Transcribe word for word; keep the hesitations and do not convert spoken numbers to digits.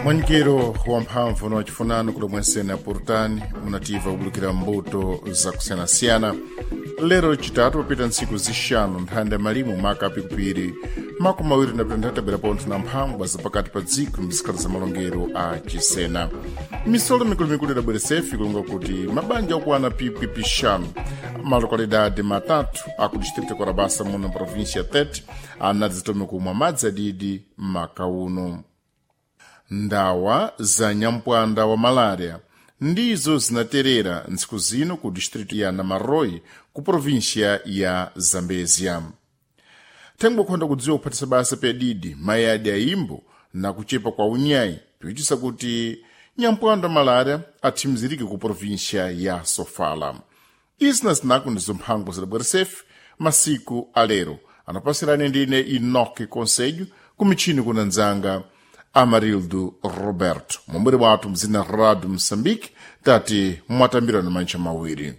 Mwanyikiro wa mphamvu na wachifunano kuli mwensene apurutani munativa kubulukira mbuto zakusiyanasiyana. Lero chitatu papita ntsiku zixanu nthanda ya malimu maka apikupiri makumi awiri na pitantatu abwera pontho na mphangwa zapakati pa dziko mzikhala za malongero a chisena. Misolo mikulumikulu idabweresefi kulonga kuti mabanja okwana pipi pixanu malokalidade matatu aku distrito Korabasa muno província Tete anadzitome kumwa madzi adidi maka uno. Ndawa za nyampwanda wa malária ndizo zinaterera ntsiku zino ku distrito ya Namaroi ku província ya Zambezia. Thengwe khonda kudziwa kuphatisa basa pedidi mayi adi ayimbo na kuchepa kwa unyayi piwitisa kuti nyampwanda wa malária athimizirike ku província ya Sofala. Izi na zinaku ndizo mphango zidabweresefe masiku alero anapasirani ndine Enoque Conselho ku mitchini kuna nzanga Amarildo Roberto. Mumbere wathu mzina Rádio Moçambique tati mwatambirana mantcha mawiri.